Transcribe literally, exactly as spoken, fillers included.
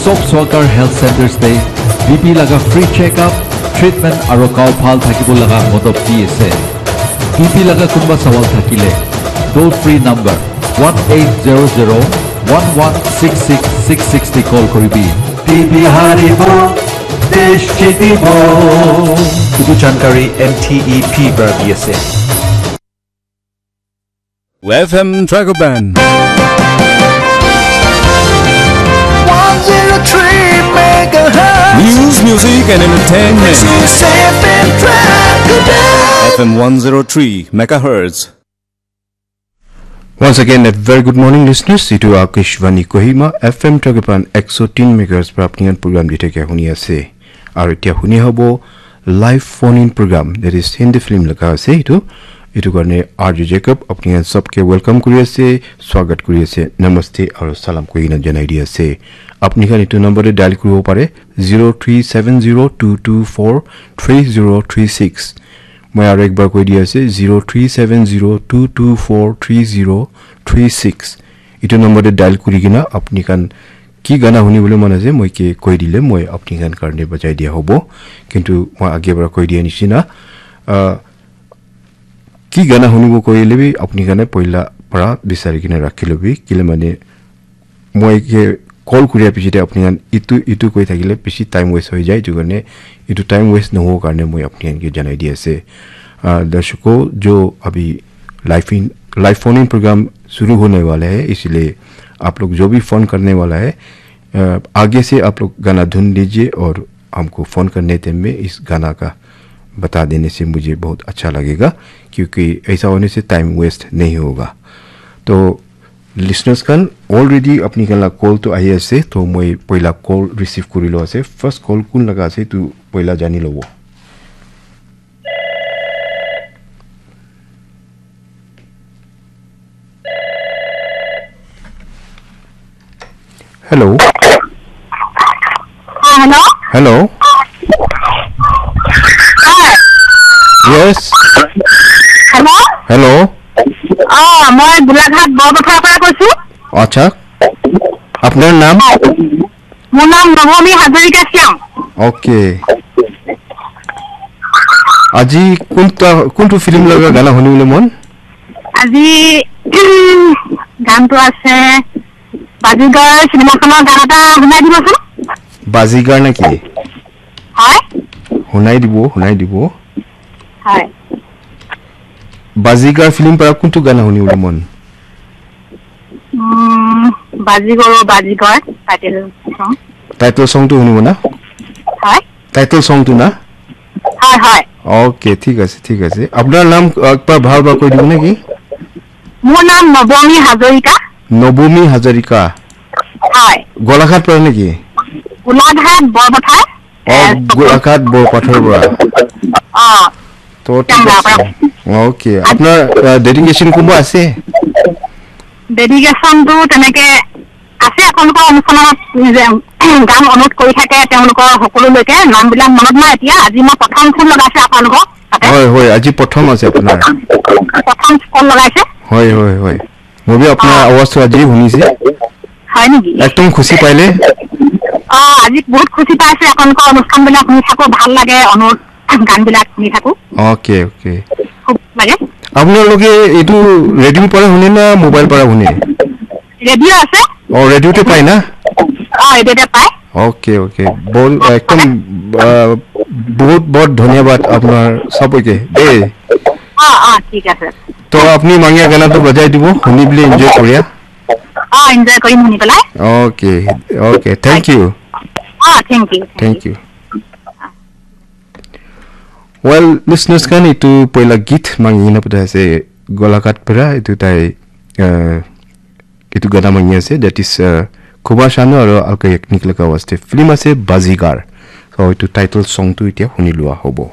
Top Swakar Health Centers te B P laga free check-up, treatment aru gao bhal thakibo laga modop di ase. B P laga kunba sawal thakile, toll free number one eight zero zero one one six six six six te call koribi. B P haribo, desh jitibo. Etu jankari M T E P para di ase. F M Dragon Band. One zero three megahertz. News, music, and entertainment. This is F M Dragon Band. F M one zero three megahertz. Once again, a very good morning, listeners. Itu Akashvani Kohima, F M Dragon Band ekso tin megahertz para apni khan program di thakia huni ase. Aru etia huni hobo live phone in program, that is Hindi film laga ase itu. Itu karne R J Jacob apni khan sabke welcome kuri ase, swagat kuri ase, namaste aru salam koi na janai di ase. Apni khan itu number te dial kuribo pare, zero three seven zero two two four three zero three six. Moi aru ekbar koi di ase, zero three seven zero two two four three zero three six. Itu number te dial kuri kena apni khan ki gana huni bole mon ase, moi ke koi dile moi apni khan karne bajai dia hobo. Kintu moi age para koi dia nishina, ah, ki gana hunibo koile bi apni khan poila para bisari kena rakhi lobi. Kile mane moi ke call kuria piche te apni khan itu, itu koi thakile bishi time waste hoi jai. Itu karne itu time waste nohobo karne moi apni khan ke janai di ase. Ah, darshako, jo abhi live in, live phone in program shuru hone wala hai, isliye aap log jo bhi phone karne wala hai, अ, आगे से आप लोग गाना ढूंढ लीजिए और हमको फ़ोन करने टाइम में इस गाना का बता देने से मुझे बहुत अच्छा लगेगा, क्योंकि ऐसा होने से टाइम वेस्ट नहीं होगा। तो लिसनर्स Khan, already apni khan la call to ahi ase, to moi poila call receive kuri lo ase. First call kun laga ase, tu poila jani lobo. Hello. Ah, hello? Hello. Hi. Yes. Hello? Hello. অ, মই গোলাঘাট বৰপথাৰৰ পৰা কৈছো। আচ্ছা। আপোনাৰ নাম? হয়। মোৰ নাম নৱমী হাজৰিকা শ্যাম। অ'কে। আজি কোনটা, কোনটো ফিল্ম লগা গানা শুনিবলৈ মন? আজি, উম, গানটো আছে, বাজিগৰ চিনেমাখনৰ গান এটা শুনাই দিবচোন। বাজিগৰ নেকি? হয়। শুনাই দিব, শুনাই দিব। হয়। বাজিগৰ ফিল্ম পৰা কোনটো গানা শুনিবলৈ মন? উম, বাজিগৰ, বাজিগৰ টাইটেল ছং। টাইটেল ছংটো শুনিব না? হয়। টাইটেল ছংটো না? হয়, হয়। অ'কে, ঠিক আছে, ঠিক আছে। আপোনাৰ নাম একবাৰ ভালকৈ কৈ দিব নেকি? মোৰ নাম নৱমী হাজৰিকা। নৱমী হাজৰিকা। হয়। গোলাঘাট পৰা নেকি? গোলাঘাট বৰপথাৰ। অ, এ, গোলাঘাট বৰপথাৰ পৰা। অ। তো ঠিক আছে। অ'কে, আপোনাৰ, আ, ডেডিকেশ্যন কোনোবা আছে? ডেডিকেশ্যনটো তেনেকে আছে, আপোনালোকৰ অনুষ্ঠানত যে গান অনুৰোধ কৰি থাকে, তেওঁলোকৰ সকলোলৈকে নামবিলাক মনত নাই এতিয়া। আজি মই প্ৰথম ফোন লগাইছো আপোনালোকক তাতে। হয়, হয়, আজি প্ৰথম আছে আপোনাৰ। প্ৰথম ফোন লগাইছে। হয়, হয়, হয়। মই বি আপোনাৰ আ। আৱাজটো আজি শুনিছে। হয় নেকি? একদম খুচি পাইলে। অ, আজি বহুত খুচি পাইছো, আপোনালোকৰ অনুষ্ঠানবিলাক শুনি থাকো, ভাল লাগে, অনুৰোধ গানবিলাক শুনি থাকো। Okay, okay. খুব লাগে। আপোনালোকে এইটো ৰেডিঅ'ৰ পৰা শুনে না মোবাইল পৰা শুনে? ৰেডিঅ' আছে। অ, ৰেডিঅ'তে পায় না? অ, ৰেডিঅ'তে পায়। Okay, okay. বহুত, একদম, আ, বহুত, বহুত ধন্যবাদ আপোনাৰ সবকে দেই। অ, অ, ঠিক আছে। তো আপুনি মাঙিয়া গানাটো বজাই দিব, শুনি বুলি এনজয় কৰিয়া। অ, এনজয় কৰিম শুনি পেলাই। Okay, okay. Thank you. অ, thank you, thank you. Thank you. Well, listeners khan, itu poila git mangi na pata ase Golaghat para, itu tai, uh, itu gana mangi ase, that is, uh, Kuba Shanu aro Alka Yagnik laga waste film ase Bazigar. So itu title song tu itia huni lua hobo.